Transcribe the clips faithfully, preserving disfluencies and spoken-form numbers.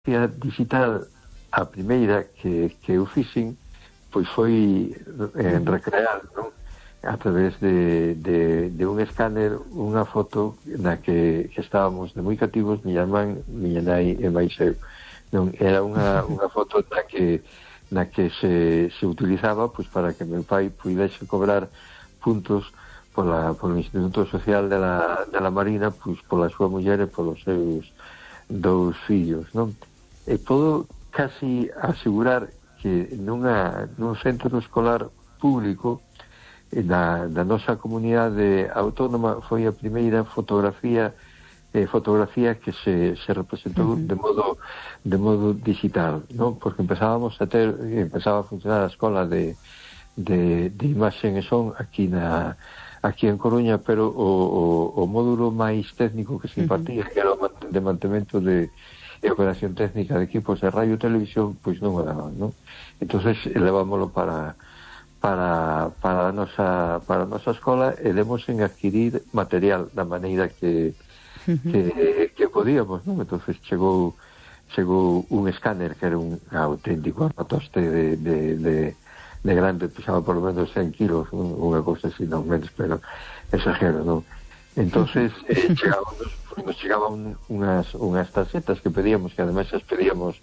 fotografía digital, a primeira que, que eu fixen, pois foi en recrear, non? A través de, de, de un escáner unha foto na que, que estábamos de moi cativos miña irmán, miña nai e máis eu, non? Era unha, unha foto na que na que se, se utilizaba pois para que meu pai puidese cobrar puntos pola, polo Instituto Social de la, de la Marina, pois pola súa muller e polos seus dous fillos, non? E podo casi asegurar que nunha, nun centro escolar público da, da nosa comunidade autónoma foi a primeira fotografía eh, fotografía que se, se representou uh-huh. de modo de modo digital, non? Porque empezábamos a ter, empezaba a funcionar a escola de, de, de imaxen e son aquí na aquí en Coruña, pero o, o, o módulo máis técnico que se impartía, uh-huh. que era o de mantemento de e operación técnica de equipos de radio e televisión, pois non o daban, non? Entonces levámoslo para para para a nosa para a nosa escola e demos en adquirir material da maneira que que, que podíamos, non? Entonces chegou chegou un escáner que era un auténtico armatoste de, de, de, de grande, pesaba por lo menos cen kilos, unha cousa así, non menos, pero exagero, non? Entonces eh, chegábamos, nos chegaban unhas, unhas tarxetas que pedíamos, que ademais as pedíamos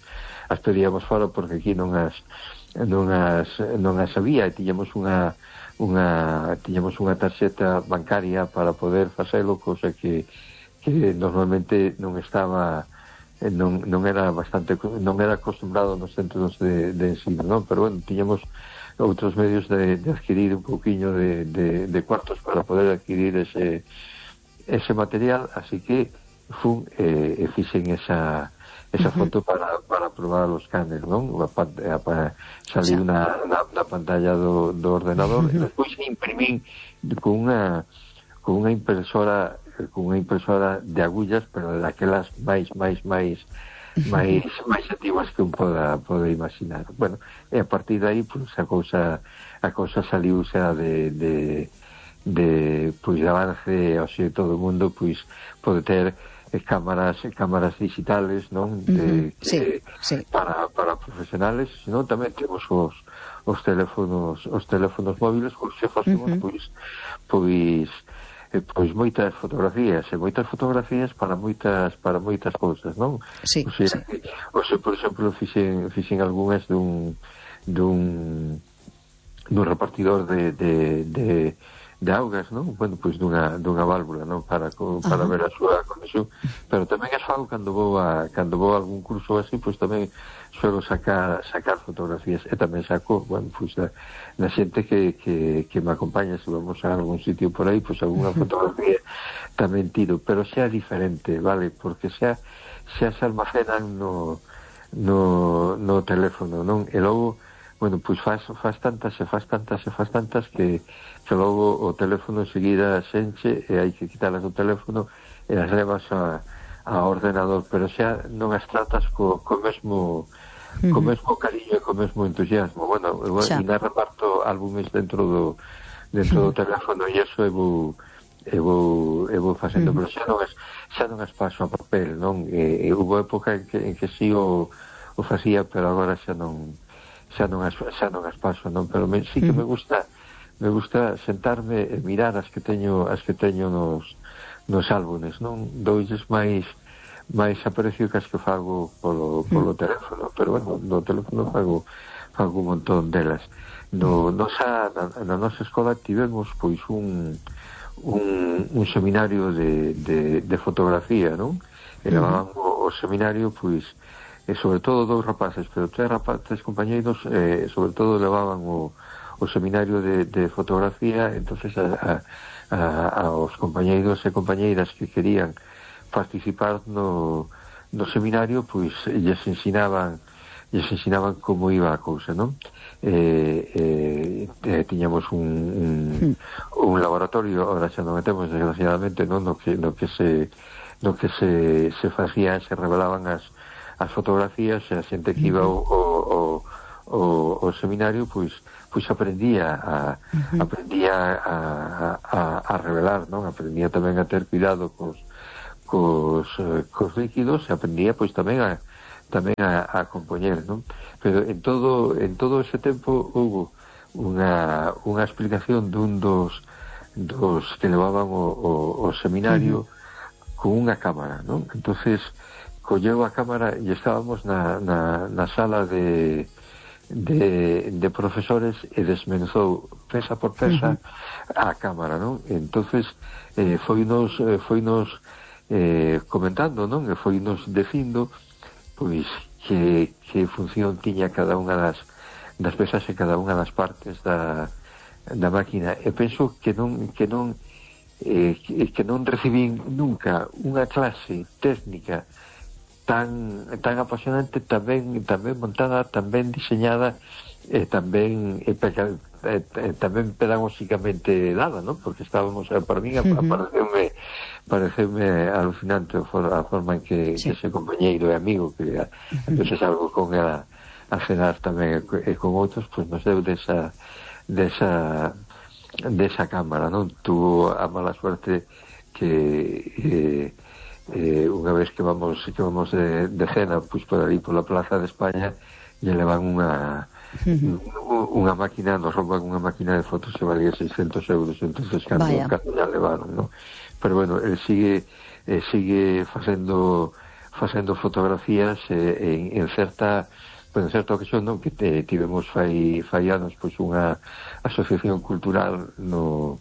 as pedíamos fora porque aquí non as non as, non as había e tiñamos unha unha tiñamos unha tarxeta bancaria para poder facelo, cosa que, que normalmente non estaba non, non era bastante non era acostumbrado nos centros de, de ensino, non? Pero bueno, tiñamos outros medios de, de adquirir un pouquiño de, de, de cuartos para poder adquirir ese ese material, así que fun e eh, fixen esa esa uh-huh. foto para, para probar os escáner, non? Para salir na, na, na pantalla do, do ordenador uh-huh. e despois imprimín con unha con unha impresora con unha impresora de agullas, pero daquelas máis máis máis máis máis activas que un poda pode imaginar. Bueno, e a partir de aí pues, a cousa a cousa saliu xa de, de de pois de avance, o sea, todo o mundo pois pode ter eh, cámaras cámaras digitales, non? De, uh-huh. sí, de, sí. para para profesionales, senón tamén temos os os teléfonos os teléfonos móviles, pois se facemos uh-huh. pois pois eh, pois moitas fotografías, e moitas fotografías para moitas para moitas cousas, non? Sí, o sea, sí. o sea, por exemplo, fixen fixen algunhas dun dun dun repartidor de de de de augas, non? Bueno, pois dunha, dunha válvula, non? Para, para uh-huh. ver a súa conexión, pero tamén as fago cando vou a, cando vou a algún curso así, pois tamén suelo sacar sacar fotografías, e tamén saco, bueno, pois da, da xente que, que, que me acompaña, se vamos a algún sitio por aí, pois algunha fotografía tamén tiro, pero xa diferente, vale? Porque xa xa se almacenan no no, no teléfono, non? E logo, bueno, pois faz, faz tantas e faz tantas e faz tantas que que logo o teléfono enseguida xenche e hai que quitalas do teléfono e as levas a, a ordenador, pero xa non as tratas co, co mesmo uh-huh. co mesmo cariño e co mesmo entusiasmo. Bueno, eu ainda reparto álbumes dentro do dentro do teléfono e iso eu vou eu vou, eu vou facendo, uh-huh. pero xa non as xa non as paso a papel, non? E, e houve época en que, en que sí o, o facía, pero agora xa non xa non as, xa non as paso, non? Pero me, sí que me gusta me gusta sentarme e mirar as que teño as que teño nos, nos álbumes, non? Doulles máis máis aprecio que as que fago polo, polo teléfono, pero bueno, no teléfono fago fago un montón delas. No, nosa, na, na nosa escola tivemos pois un un, un seminario de, de, de fotografía, non? E levaban o, o seminario pois e sobre todo dous rapaces, pero tres rapaces compañeiros eh, sobre todo levaban o o seminario de, de fotografía, entonces a, a, a, aos compañeiros e compañeiras que querían participar no, no seminario, pois lles ensinaban lles ensinaban como iba a cousa, non? Eh, eh, tiñamos un, un, un laboratorio, ahora xa non metemos desgraciadamente, non? No que, no que se no que se, se facía, se revelaban as, as fotografías, e a xente que iba ao, ao, ao, ao seminario, pois pois aprendía a uh-huh. aprendía a, a, a revelar, non? Aprendía tamén a ter cuidado cos cos, cos líquidos, e aprendía pois tamén a tamén a, a compoñer, non? Pero en todo en todo ese tempo houve unha, unha explicación dun dos dos que levaban o, o, o seminario uh-huh. con unha cámara, non? Entonces colleu a cámara e estábamos na, na, na sala de de, de profesores e desmenuzou pesa por pesa uh-huh. a cámara, non? Entonces eh, foinos eh, foinos eh, comentando, non? E foinos dicindo pois que, que función tiña cada unha das das pesas e cada unha das partes da, da máquina. E penso que non que non eh, que, que non recibín nunca unha clase técnica tan tan apasionante, tamén tamén montada, tamén diseñada e tamén e, e, e, tamén pedagógicamente dada, ¿no? Porque estábamos, para mí uh-huh. pareceume pareceume alucinante a forma en que, sí. que ese compañeiro e amigo que a, uh-huh. entonces algo con ela a cenar tamén e con outros, pues nos deu desa desa desa cámara, non? Tuvo a mala suerte que eh, eh, unha vez que vamos que vamos de, de cena pois por ali pola Plaza de España lle levan unha uh-huh. unha máquina, nos rouban unha máquina de fotos que valía seiscentos euros, entonces cando, cando ya levaron, non? Pero bueno, el sigue eh, sigue facendo facendo fotografías eh, en, en certa en certa ocasión, non, que te, tivemos fai, fai anos pois unha asociación cultural no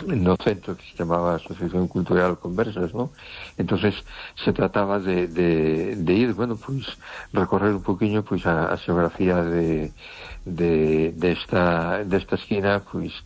no centro que se chamaba Asociación Cultural Conversas, ¿no? Entonces se trataba de, de, de ir, bueno, pues recorrer un poquinho pues a, a xeografía de de, de esta de esta esquina, pues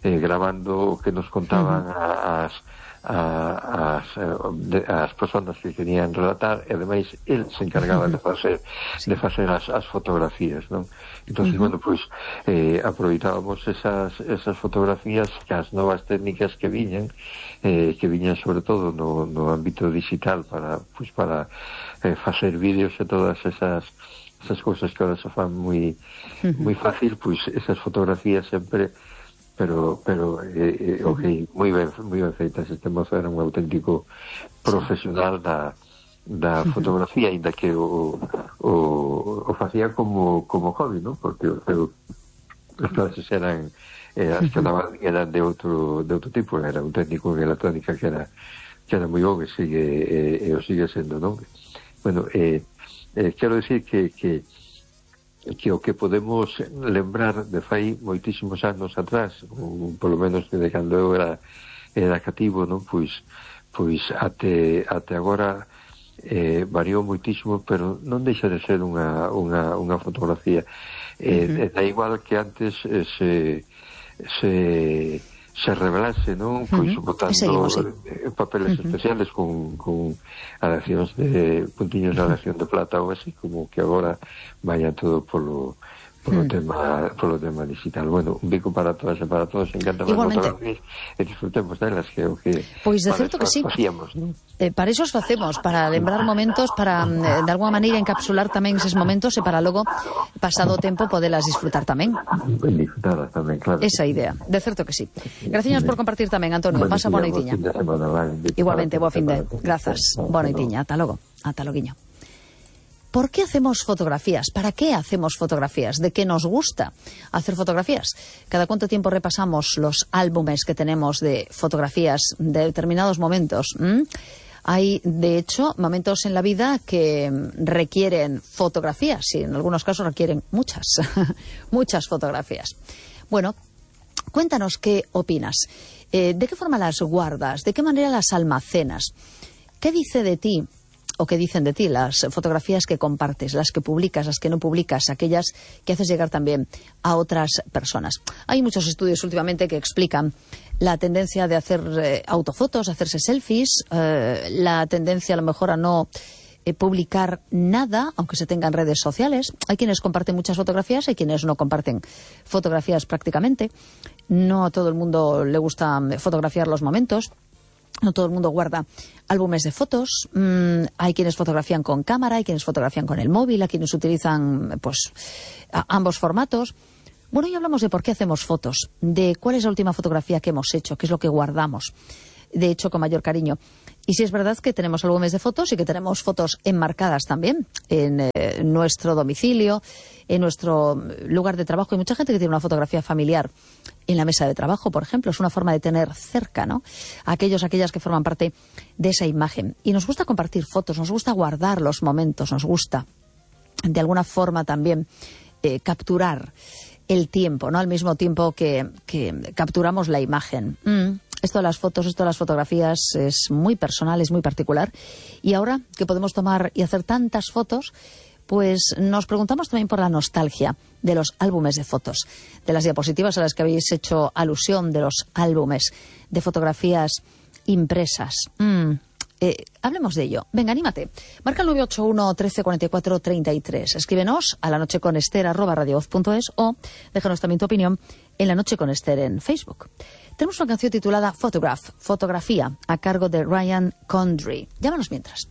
eh, grabando o que nos contaban uh-huh. as a, as, de, as persoas que querían relatar e ademais el se encargaba de facer sí. de facer as, as fotografías, non? Entonces, uh-huh. bueno, pois pues, eh, aproveitábamos esas, esas fotografías que as novas técnicas que viñan eh, que viñan sobre todo no, no ámbito digital para, pues, para eh, facer vídeos e todas esas esas cousas que ahora se fan moi uh-huh. moi fácil, pois pues, esas fotografías sempre pero pero eh, eh, ok, moi ben moi ben feitas. Este mozo era un auténtico profesional da da fotografía, ainda que o o, o facía como como hobby, ¿no? Porque o, as clases eran eh, as que daban eran de outro de outro tipo, era un técnico en electrónica que era que era moi bon e sigue e, e o sigue sendo, non? Bueno, eh, eh, quero decir que que que o que podemos lembrar de fai moitísimos anos atrás, ou polo menos de cando eu era era cativo, non? Pois pois até até agora eh, variou moitísimo, pero non deixa de ser unha unha unha fotografía. Eh, uh-huh. Da igual que antes eh, se se se revelase, non? Pois uh-huh. botando sí. papeles uh-huh. especiales con, con aleacións de puntiños de aleación de plata ou así, como que agora vaya todo polo polo hmm. tema polo tema digital. Bueno, un bico para todas e para todos, encanta as fotografías e disfrutemos delas, que é o que pois de certo que sí. facíamos, non? Eh, para iso os facemos, para lembrar momentos, para eh, de alguma maneira encapsular tamén eses momentos e para logo, pasado o tempo, podelas disfrutar tamén. Disfrutadas tamén, claro. Esa idea, de certo que sí. Graciñas por compartir tamén, Antonio. Pasa boa noitiña. Igualmente, boa fin de. Grazas. Boa noitiña. Ata logo. Ata loguiño. ¿Por qué hacemos fotografías? ¿Para qué hacemos fotografías? ¿De qué nos gusta hacer fotografías? ¿Cada cuánto tiempo repasamos los álbumes que tenemos de fotografías de determinados momentos? ¿Mm? Hay, de hecho, momentos en la vida que requieren fotografías y en algunos casos requieren muchas, muchas fotografías. Bueno, cuéntanos qué opinas. Eh, ¿De qué forma las guardas? ¿De qué manera las almacenas? ¿Qué dice de ti? ¿O qué dicen de ti las fotografías que compartes, las que publicas, las que no publicas, aquellas que haces llegar también a otras personas? Hay muchos estudios últimamente que explican la tendencia de hacer eh, autofotos, hacerse selfies, eh, la tendencia a lo mejor a no eh, publicar nada, aunque se tengan redes sociales. Hay quienes comparten muchas fotografías, hay quienes no comparten fotografías prácticamente. No a todo el mundo le gusta fotografiar los momentos. No todo el mundo guarda álbumes de fotos. Mm, hay quienes fotografían con cámara, hay quienes fotografían con el móvil, hay quienes utilizan pues a, ambos formatos. Bueno, hoy hablamos de por qué hacemos fotos, de cuál es la última fotografía que hemos hecho, qué es lo que guardamos, de hecho con mayor cariño. Y sí es verdad que tenemos álbumes de fotos y que tenemos fotos enmarcadas también en eh, nuestro domicilio, en nuestro lugar de trabajo. Hay mucha gente que tiene una fotografía familiar en la mesa de trabajo, por ejemplo. Es una forma de tener cerca, ¿no?, a aquellos, aquellas que forman parte de esa imagen. Y nos gusta compartir fotos, nos gusta guardar los momentos, nos gusta de alguna forma también eh, capturar el tiempo, ¿no?, al mismo tiempo que, que capturamos la imagen. Mm. Esto de las fotos, esto de las fotografías es muy personal, es muy particular. Y ahora que podemos tomar y hacer tantas fotos, pues nos preguntamos también por la nostalgia de los álbumes de fotos, de las diapositivas a las que habéis hecho alusión, de los álbumes de fotografías impresas. Mm. Eh, hablemos de ello. Venga, anímate. Marca el nueve ocho uno, trece, cuarenta y cuatro, treinta y tres. Escríbenos a lanocheconester arroba radiovoz punto es o déjanos también tu opinión en La Noche con Ester en Facebook. Tenemos una canción titulada Photograph, Fotografía, a cargo de Ryan Condry. Llámanos mientras.